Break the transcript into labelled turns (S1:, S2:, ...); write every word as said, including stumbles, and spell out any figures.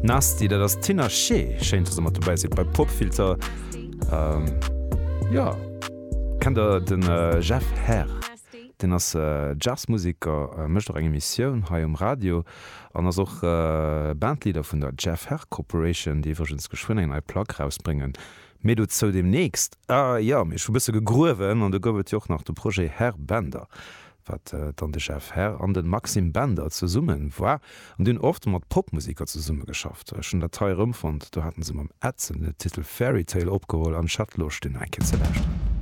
S1: Nasty, dat ass d'Tinashe. Schéin, dass der mat dobäi sidd bei Popfilter. Ähm, jo, kennt der den Jeff Herr? Deen ass Jazzmuseker, mécht och eng Emissioun hei um Radio an ass och Bandleader vun der Jeff Herr Corporation, déi iwwregens geschwënn eng nei Plack rausbréngen. Méi dozou deemnächst. Ah jo, mee ech hu bësse gegruewen an do gouf et jo och nach de Projet Herr Bender, wat dann de Jeff Herr an de Maxime Bender zesumme war. An déi hunn oft mat Popmuseker zesummegeschafft. Ech hunn dat hei erëmfonnt, do haten se mam Edson den Titel Fairy Tale opgeholl an ech hat Loscht, deen eng Kéier ze lauschteren.